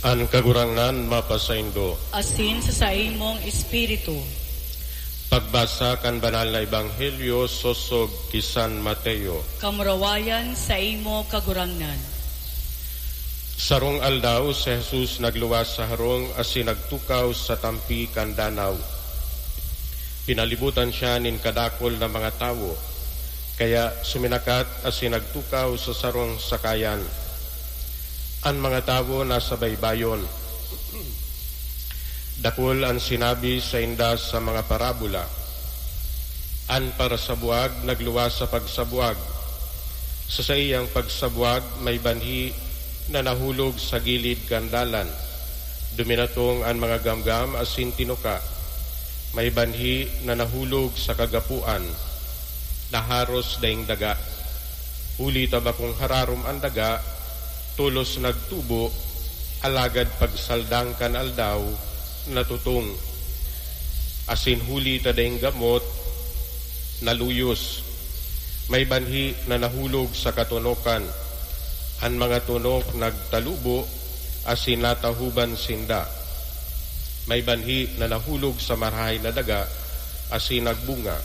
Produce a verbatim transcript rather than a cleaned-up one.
An Kagurangnan mapasaindo. Asin sa saimong espiritu. Pagbasa kan Banal na Ebanghelyo sosog ki San Mateo. Kamurawayan saimo, Kagurangnan. Sarong aldaw, si Jesus nagluwas sa harong asin nagtukaw sa tampi kan danaw. Pinalibutan siya nin kadakul na mga tawo, kaya suminakat asin nagtukaw sa sarong sakayan. An mga tawo nasa baybayon. Dakul an sinabi sainda sa mga parabola. An parasabuag nagluwas sa pagsabuag. Sa saiyang pagsabuag, may banhi na nahulog sa gilid kan dalan. Duminatong an mga gamgam asin tinuka. May banhi na nahulog sa kagapoan, naharos daing daga. Huli ta bakong hararom an daga, tolos nagtubo, alagad pagsaldang kan aldaw, natutong. Asin huli ta daing gamot, naluyos. May banhi na nahulog sa katonokan. An mga tonok nagtalubo asin natahuban sinda. May banhi na nahulog sa marahay na daga asin nagbunga.